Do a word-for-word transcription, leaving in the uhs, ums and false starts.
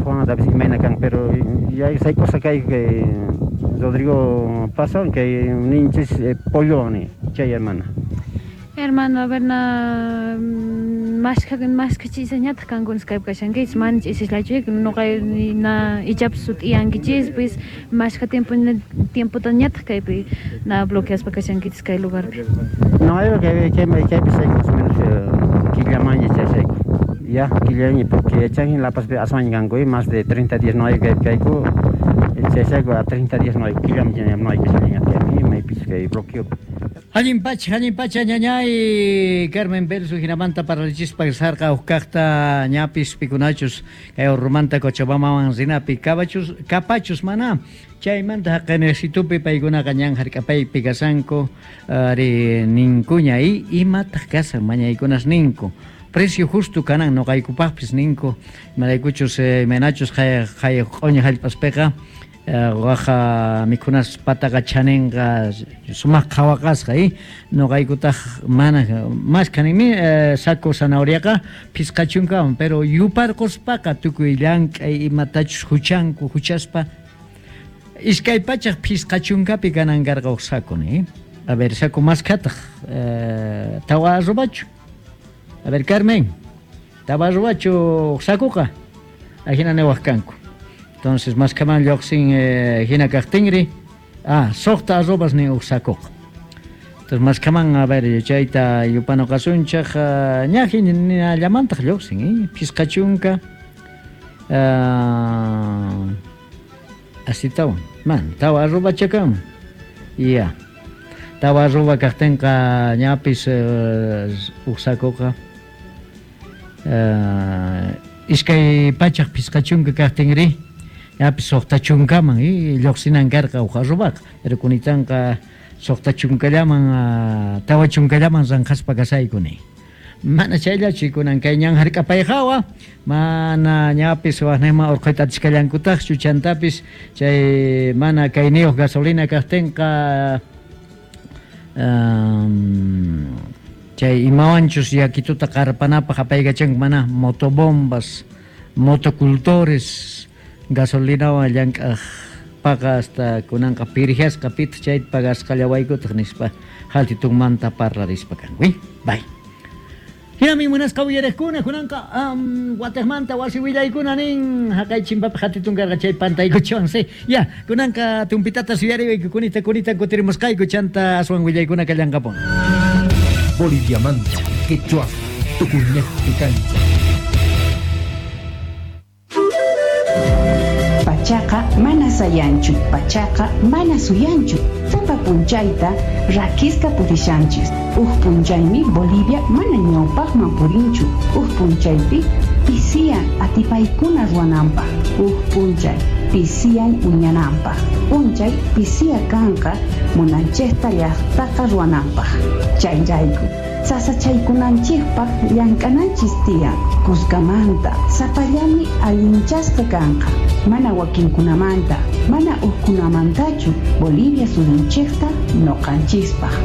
Juan imayna kan, pero ya sayk'usqa kayku kay Rodrigo Pazwan kay ninchis Pollowan ni chay hermana. Hermano, a ver, na mashkha mashkha ch'isañataq kankunas kaypi kashankichis, mana ch'isislachu nuqa na ichapis sut'iyankichispis mashkha tiempo tiempotañataq kaypi na bloqueaspa kashankichis kay lugarpi. No, kay kay kaypi sayku más o menos killamanña chayshayku. Ya, killaña porque yachanki La Pazpi aswanña kanku más de treinta días no hay kaypi kayku chayshayku a treinta días no hay killamña no hay kashallaña maypis kay bloqueo. Allin pacha, allin pacha, ñañay Carmen Belsu hinamanta parlachispa sarqa uqkaqta ñapis pikunachus kay Orrumanta Cochabambaman rinapi kabachus kapachus mana chaymanta haqayniyasitupi paykunaqa ñan hark'apaypi kasanku ari ninkuña y imataq kasan mañaykunas ninku precio justo kanan nuqaykupaqpis ninku imaraykuchus imaynachus qhay qhay q'uñi hallp'aspiqa waja mikhunas pataqa chaninqa sumaq qhawaqasqa y nuqaykutaq mana maskhanimi saco zanahoriaqa phisqa chunkawan pero yuparquspaqa tukuy llank'ay imatachus huchanku huchaspa iskay pachaq phisqa chunkapi kanan karqa huk saco ni a ver saco maskhataq tawa arrobachu a ver Carmen tawa arrobachu huk sacoqa ajina niwaq kanku. Entonces, maskhaman lluqsin eh, hina kaqtinri, ah, suqta arrobas ni huk sacoqa. Entonces, maskhaman, a ver, chayta yupanoqasunchaq, ña hinallamantaq lluqsin, eh, phisqa chunka, ah, asitawan, man, tawa arroba chakan, ya, tawa arroba kaqtinqa ñapis eh, huk sacoqa, eh, iskay pachaq phisqa chunka kaqtinri, ñapis suqta chunkaman y lluqsinan karqa huk arrobaqa, pero kunitanqa suqta chunkallaman tawa chunkallaman ranqaspa kasayku ni. Mana chayllachu kunan kay ñan hark'apay hawa, mana ñapis waqniyman urquyta atisqallankutaqchu chantapis chay mana kayniyuq gasolina kaqtinqa um, chay imawanchus yakituta qarpanapaq apaykachanku mana motobombas, motocultores gasolinawan llank'aq paqa hasta kunanqa pirjasqa pitaq chayta pagasqallawaykutaq nispa haltitunmanta parlarispa kanku. Bye. Hinami munasqa uyariqkuna kunanqa um, wataqmanta wasi willaykuna nin haqay chimpapi hatitun karqa chay pantaykuchwan si ya kunanqa tumpitata suyariwayku kunita kunita kutirimusqayku chanta aswan willaykuna kallanqapun. Boliviamanta quechua tukuynejpi kancha. Pachaqa mana sayanchu, pachaqa mana suyanchu. Sapa punchayta rakisqa purishanchis. Uj punchaymi Bolivia mana ñawpaqman purinchu. Uj punchaypi pisiyan atipaykuna ruwananpaq. Uj punchay pisiyan uñananpaq. Punchay pisiya kanqa munanchikta llaqtaqa ruwananpaq. Chayrayku sasachaykunanchikpaq llank'ananchis tiyan. Kuskamanta sapallami allinchasqa kanqa. Mana wakinkunamanta, mana ukkunamantachu Bolivia suyunchikta nuqanchispaq.